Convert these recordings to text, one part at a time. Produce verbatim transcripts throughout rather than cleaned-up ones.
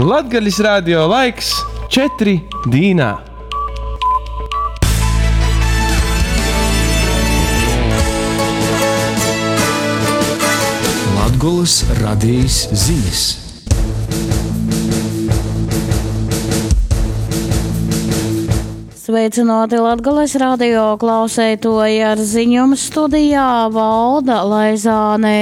Latgalis radio laiks četri dīnā. Latgolys radejis zinis. Sveicināti Latgales radio klauseitoji ar ziņom studijā Valda Laizāne.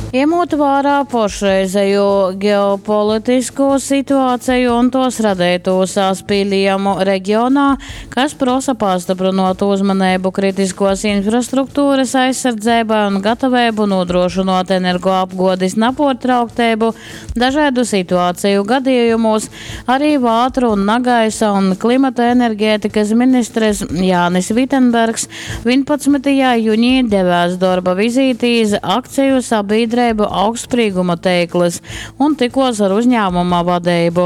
Ņemot vērā pašreizējo ģeopolitisko situāciju un tos radīto saspīlījumu reģionā, kas prosa pastiprinot uzmanību kritiskos infrastruktūras aizsardzībai un gatavību nodrošinot energoapgādes nepārtrauktību dažādu situāciju gadījumos, arī vātru un nagaisa un klimata enerģētikas ministres Jānis Vitenbergs vienpadsmitajā jūnijā devās darba vizītī iz akciju sabiedrību augstsprīguma teiklas un tikos ar uzņēmuma vadību.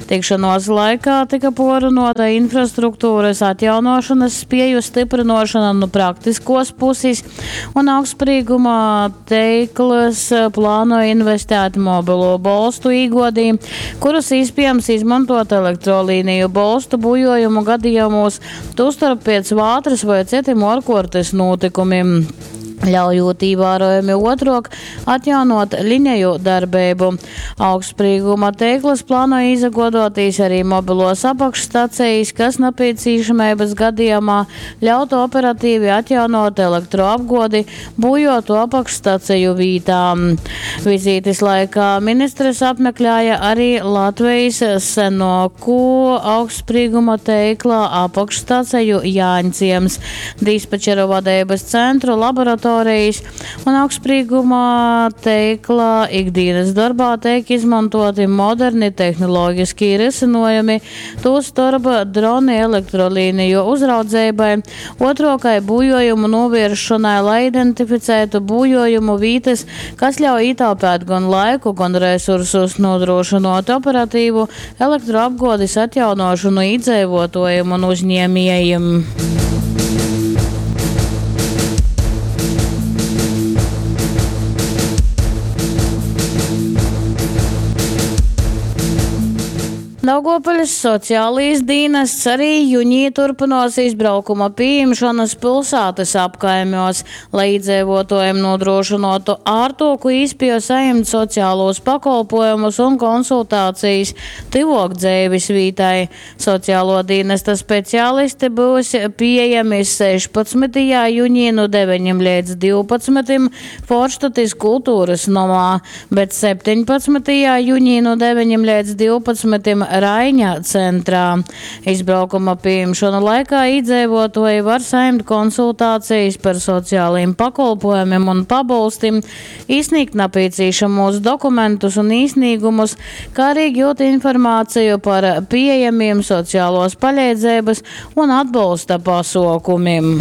Tikšanos laikā tika porunota infrastruktūras atjaunošanas spēju stiprinošana no praktiskos puses un augstsprīguma teiklas plāno investēt mobilo bolstu īgodī, kurus iespējams izmantot elektrolīniju bolstu bujojumu gadījumos, tostarp pēc vātras vai citiem ārkārtas notikumiem, ļaujot ievērojami otrok atjaunot liniju darbību. Augstsprīguma teiklas plāno izagodoties arī mobilos apakšstacijas, kas nepieciešamības gadījumā ļautu operatīvi atjaunot elektroapgodi būjotu apakšstaciju vītām. Vizītes laikā ministres apmeklēja arī Latvijas senoku augstsprīguma teikla apakšstaciju Jāņciems, dispečeru vadības centru, laboratoriju un augstsprīguma teikla ikdienas darbā tiek izmantoti moderni tehnoloģiski risinājumi, tostarp droni elektrolīniju uzraudzībai, otrokai būjojumu novēršanai, lai identificētu būjojumu vītas, kas ļauj ietaupīt gan laiku, gan resursus, nodrošinot operatīvu elektroapgādes atjaunošanu iedzīvotājiem un uzņēmējiem. Daugavpils sociālais dienests arī jūnijā turpinās izbraukuma pieņemšanas pilsētas apkaimjos, lai iedzīvotājiem nodrošinātu ārtoku īspēju saņemt sociālos pakalpojumus un konsultācijas tuvāk dzīves vītai. Sociālo dienesta speciālisti būs pieejami sešpadsmitajā jūnijā no deviņiem līdz divpadsmitiem Forštatis kultūras nomā, bet septiņpadsmitajā jūnijā no deviņiem līdz divpadsmitiem Raiņa centrā. Izbraukuma pieņemšanu laikā iedzīvotāji var saņemt konsultācijas par sociālajiem pakalpojumiem un pabalstiem, izsniegt nepieciešamos dokumentus un īsnīgumus, kā arī gūt informāciju par pieejamiem sociālos palīdzības un atbalsta pasaukumiem.